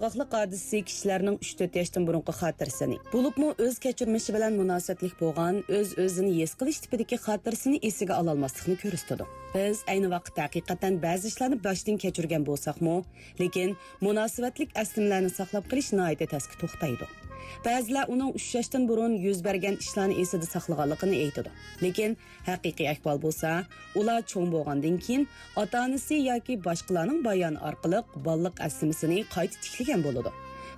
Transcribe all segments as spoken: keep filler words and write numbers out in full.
ئۇنتۇغاقلىق ھادىسىسى كىشىلەرنىڭ ئۈچ تۆت ياشتىن بۇرۇنقى خاتىرىسىنى، بولۇپمۇ ئۆز كەچۈرمىشى بىلەن مۇناسىۋەتلىك بولغان ئۆز-ئۆزىنى ھېس قىلىش تىپىدىكى خاتىرىسىنى ئېسىگە ئالالماسلىقنى كۆرسىتىدۇ. بىز ئەينى ۋاقىتتا ھەقىقەتەن بەزى ئىشلارنى باشتىن كەچۈرگەن بولساقمۇ، لېكىن مۇناسىۋەتلىك ئەسلىمىلەرنى ساقلاپ قېلىش ناھايىتى تەسكە توختايدۇ. بەزىلەر ئۇنىڭ ئۈچ ياشتىن بۇرۇن يۈز بەرگەن ئىشلارنى ئېسىدە ساقلىغانلىقىنى ئېيتىدۇ. لېكىن ھەقىقىي ئەھۋال بولسا، ئۇلار چوڭ بولغاندىن كېيىن ئاتا-ئانىسى ياكى باشقىلارنىڭ بايانى ئارقىلىق بالىلىق ئەسلىمىسىنى قايتا تىكلىگەن بولىدۇ.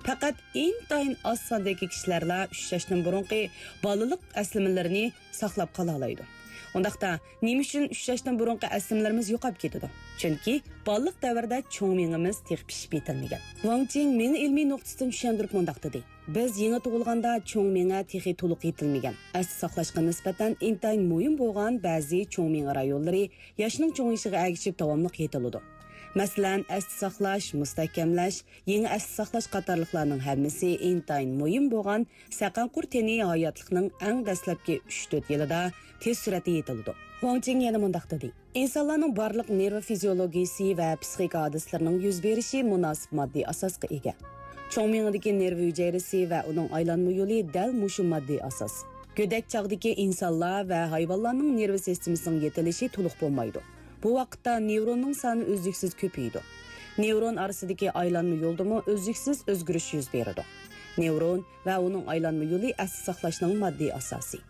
پەقەت ئىنتايىن ئاز ساندىكى كىشىلەرلا ئۈچ ياشتىن بۇرۇنقى بالىلىق ئەسلىمىلىرىنى ساقلاپ قالالايدۇ. ئۇنداقتا، نېمە ئۈچۈن ئۈچ ياشتىن بۇرۇنقى ئەسلىمىلىرىمىز يوقاپ كېتىدۇ؟ چۈنكى بالىلىق دەۋرىدە چوڭ مېڭىمىز تېخى پىشىپ يېتىلمىگەن. ۋاڭ چىڭ مېڭە ئىلمىي نۇقتىسىدىن چۈشەندۈرۈپ مۇنداق دېدى: بىز يېڭى تۇغۇلغاندا چوڭ مېڭە تېخى تولۇق يېتىلمىگەن. ئەستە ساقلاشقا نىسبەتەن ئىنتايىن مۇھىم بولغان بەزى چوڭ مېڭە رايونلىرى ياشنىڭ چوڭىيىشىغا ئەگىشىپ داۋاملىق يېتىلىدۇ. مەسىلەن، ئەستە ساقلاش، مۇستەھكەملەش، يېڭى ئەستە ساقلاش قاتارلىقلارنىڭ ھەممىسى ئىنتايىن مۇھىم بولغان سەقەنقۇر تېنى ھاياتلىقنىڭ ئەڭ دەسلەپكى ئۈچ تۆت يىلىدا تېز سۈرئەتتە يېتىلىدۇ. ۋاڭ چىڭ يەنە مۇنداق دېدى: ئىنسانلارنىڭ بارلىق نېرۋا فىزىيولوگىيىسى ۋە پسىخىكا ھادىسىلىرىنىڭ يۈز بېرىشى مۇناسىپ ماددىي ئاساسقا ئىگە. چوڭ مېڭىدىكى نېرۋا ھۈجەيرىسى ۋە ئۇنىڭ ئايلانما يولى دەل مۇشۇ ماددىي ئاساس. گۆدەك چاغدىكى ئىنسانلار ۋە ھايۋانلارنىڭ نېرۋا سىستېمىسىنىڭ يېتىلىشى تولۇق بولمايدۇ. بۇ ۋاقىتتا نېۋروننىڭ سانى ئۈزلۈكسىز كۆپىيىدۇ. نېۋرون ئارىسىدىكى ئايلانما يولدىمۇ ئۈزلۈكسىز ئۆزگىرىش يۈز بېرىدۇ. نېۋرون ۋە ئۇنىڭ ئايلانما يولى ئەستە ساقلاشنىڭ ماددىي ئاساسى.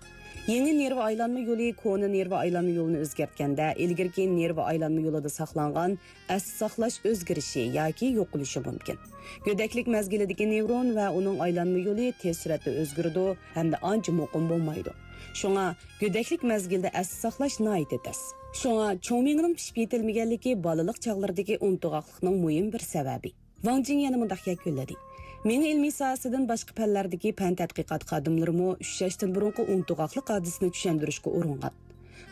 يېڭى نېرۋا ئايلانما يولى كونا نېرۋا ئايلانما يولىنى ئۆزگەرتكەندە، ئىلگىرىكى نېرۋا ئايلانما يولىدا ساقلانغان ئەستە ساقلاش ئۆزگىرىشى ياكى يوقىلىشى مۇمكىن. گۆدەكلىك مەزگىلىدىكى نېۋرون ۋە ئۇنىڭ ئايلانما يولى تېز سۈرئەتتە ئۆزگىرىدۇ ھەمدە ئانچە مۇقىم بولمايدۇ. شۇڭا گۆدەكلىك مەزگىلدە ئەستە ساقلاش ناھايىتى تەس. شۇڭا چوڭ مېڭىنىڭ پىشىپ يېتىلمىگەنلىكى بالىلىق چاغلىرىدىكى ئۇنتۇغاقلىقنىڭ مۇھىم بىر سەۋەبى. ۋاڭ جىڭ يەنە مۇنداق يەكۈنلىدى: مېڭە ئىلمىي ساھەسىدىن باشقا پەنلەردىكى پەن تەتقىقات خادىملىرىمۇ ئۈچ ياشتىن بۇرۇنقى ئۇنتۇغاقلىق ھادىسىسىنى چۈشەندۈرۈشكە ئۇرۇنغان.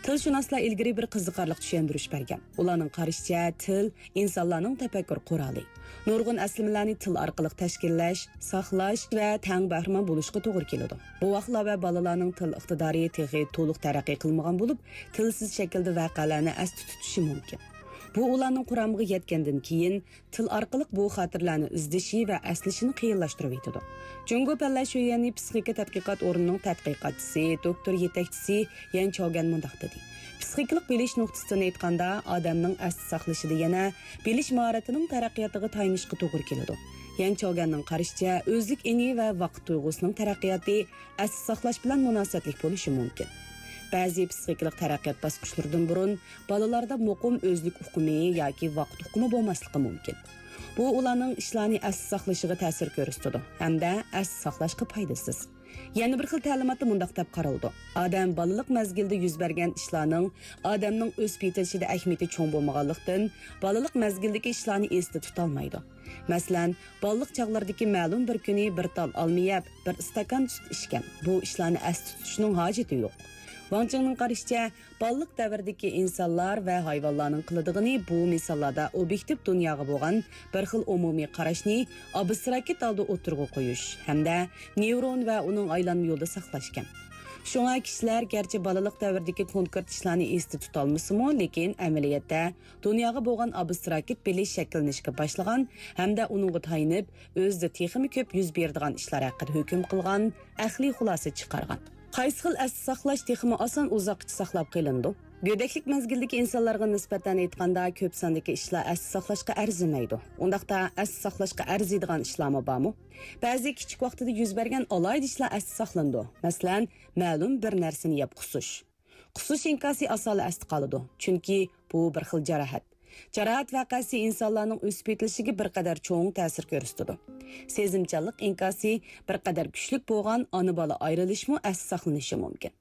تىلشۇناسلار ئىلگىرى بىر قىزىقارلىق چۈشەندۈرۈش بەرگەن. ئۇلارنىڭ قارىشىچە، تىل ئىنسانلارنىڭ تەپەككۇر قورالى. نۇرغۇن ئەسلىمىلەرنى تىل ئارقىلىق تەشكىللەش، ساقلاش ۋە تەڭ بەھرىمەن بولۇشقا توغرا كېلىدۇ. بوۋاقلار ۋە بالىلارنىڭ تىل ئىقتىدارى تېخى تولۇق تەرەققىي قىلمىغان بولۇپ، تىلسىز شەكىلدە ۋەقەلەرنى ئەستە تۇتۇشى مۇمكىن. بۇ ئۇلارنىڭ قۇرامىغا يەتكەندىن كېيىن، تىل ئارقىلىق بۇ خاتىرىلەرنى ئىزدىشى ۋە ئەسلىشىنى قىيىنلاشتۇرۇۋېتىدۇ. جۇڭگو پەنلەر شۆيۈەنى پسىخىكا تەتقىقات ئورنىنىڭ تەتقىقاتچىسى، دوكتور يېتەكچىسى يەن چاۋگەن مۇنداق دېدى: پسىخىكىلىق بىلىش نۇقتىسىدىن ئېيتقاندا، ئادەمنىڭ ئەستە ساقلىشىدا يەنە بىلىش ماھارىتىنىڭ تەرەققىياتىغا تايىنىشقا توغرا كېلىدۇ. يەن چاۋگەننىڭ قارىشىچە، ئۆزلۈك ئېڭى ۋە ۋاقىت تۇيغۇسىنىڭ تەرەققىياتى ئەستە ساقلاش بىلەن مۇناسىۋەتلىك بولۇشى مۇمكىن. بەزى پسىخىكىلىق تەرەققىيات باسقۇچلىرىدىن بۇرۇن بالىلاردا مۇقىم ئۆزلۈك ئۇقۇمى ياكى ۋاقىت ئۇقۇمى بولماسلىقى مۇمكىن. بۇ ئۇلارنىڭ ئىشلارنى ئەستە ساقلىشىغا تەسىر كۆرسىتىدۇ ھەمدە ئەستە ساقلاشقا پايدىسىز. يەنە بىر خىل تەلىماتتا مۇنداق دەپ قارىلىدۇ: ئادەم بالىلىق مەزگىلدە يۈز بەرگەن ئىشلارنىڭ ئادەمنىڭ ئۆسۈپ يېتىلىشىدە ئەھمىيىتى چوڭ بولمىغانلىقتىن، بالىلىق مەزگىلدىكى ئىشلارنى ئېستە تۇتالمايدۇ. مەسىلەن، بالىلىق چاغلىرىدىكى مەلۇم بىر كۈنى بىر تال ئالما يەپ، بىر ئىستاكان سۈت ئىچكەن. بۇ ئىشلارنى ئەستە تۇتۇشنىڭ ھاجىتى يوق. ۋاڭ چىڭنىڭ قارىشىچە، بالىلىق دەۋرىدىكى ئىنسانلار ۋە ھايۋانلارنىڭ قىلىدىغىنى بۇ مىساللاردا ئوبيېكتىپ دۇنياغا بولغان بىر خىل ئومۇمىي قاراشنى ئابستراكت ھالدا ئوتتۇرىغا قويۇش ھەمدە نېۋرون ۋە ئۇنىڭ ئايلانما يولىدا ساقلاشكەن. شۇڭا كىشىلەر گەرچە بالىلىق دەۋرىدىكى كونكرېت ئىشلارنى ئېستە تۇتالمىسىمۇ، لېكىن ئەمەلىيەتتە دۇنياغا بولغان ئابستراكت بىلىش شەكىللىنىشكە باشلىغان ھەمدە ئۇنىڭغا تايىنىپ، ئۆزىدە تېخىمۇ كۆپ يۈز بېرىدىغان ئىشلار ھەققىدە ھۆكۈم قىلغان، ئەقلىي خۇلاسە چىقارغان. قايسى خىل ئەستە ساقلاش تېخىمۇ ئاسان ئۇزاققىچە ساقلاپ قېلىنىدۇ؟ گۆدەكلىك مەزگىلدىكى ئىنسانلارغا نىسبەتەن ئېيتقاندا، كۆپ ساندىكى ئىشلار ئەستە ساقلاشقا ئەرزىمەيدۇ. ئۇنداقتا ئەستە ساقلاشقا ئەرزىيدىغان ئىشلارمۇ بارمۇ؟ بەزى كىچىك ۋاقتىدا يۈز بەرگەن ئالاھىدە ئىشلار ئەستە ساقلىنىدۇ. مەسىلەن، مەلۇم بىر نەرسىنى يەپ قۇسۇش. قۇسۇش ئىنكاسى ئاسانلا ئەستە قالىدۇ، چۈنكى بۇ بىر خىل جاراھەت. جاراھەت ۋەقەسى ئىنسانلارنىڭ ئۆسۈپ يېتىلىشىگە بىر قەدەر چوڭ تەسىر كۆرسىتىدۇ. سېزىمچانلىق ئىنكاسى بىر قەدەر كۈچلۈك بولغان ئانا-بالا ئايرىلىشمۇ ئەستە ساقلىنىشى مۇمكىن.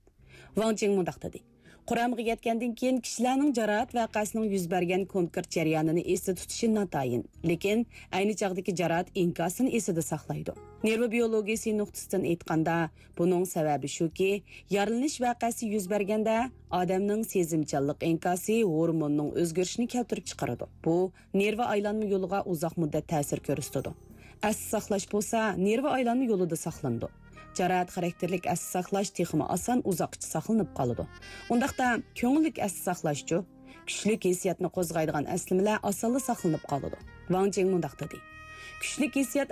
ۋاڭ جىڭ مۇنداق دېدى: قۇرامىغا يەتكەندىن كېيىن كىشىلەرنىڭ جاراھەت ۋەقەسىنىڭ يۈز بەرگەن كونكرېت جەريانىنى ئېستە تۇتۇشى ناتايىن، لېكىن ئەينى چاغدىكى جاراھەت ئىنكاسىنى ئېسىدە ساقلايدۇ. نېرۋا بىيولوگىيىسى نۇقتىسىدىن ئېيتقاندا، بۇنىڭ سەۋەبى شۇكى، يارىلىنىش ۋەقەسى يۈز بەرگەندە ئادەمنىڭ سېزىمچانلىق ئىنكاسى ھورموننىڭ ئۆزگىرىشىنى كەلتۈرۈپ چىقىرىدۇ. بۇ نېرۋا ئايلانما يولىغا ئۇزاق مۇددەت تەسىر كۆرسىتىدۇ. ئەستە ساقلاش بولسا نېرۋا ئايلانما يولىدا ساقلىنىدۇ. جاراھەت خاراكتېرلىك ئەستە ساقلاش تېخىمۇ ئاسان ئۇزاققىچە ساقلىنىپ قالىدۇ. ئۇنداقتا كۆڭۈللۈك ئەستە ساقلاشچۇ؟ كۈچلۈك ھېسسىياتنى قوزغايدىغان ئەسلىمىلەر ئاسانلا ساقلىنىپ قالىدۇ. ۋاڭ جىڭ مۇنداق دېدى: كۈچلۈك ھېسسىيات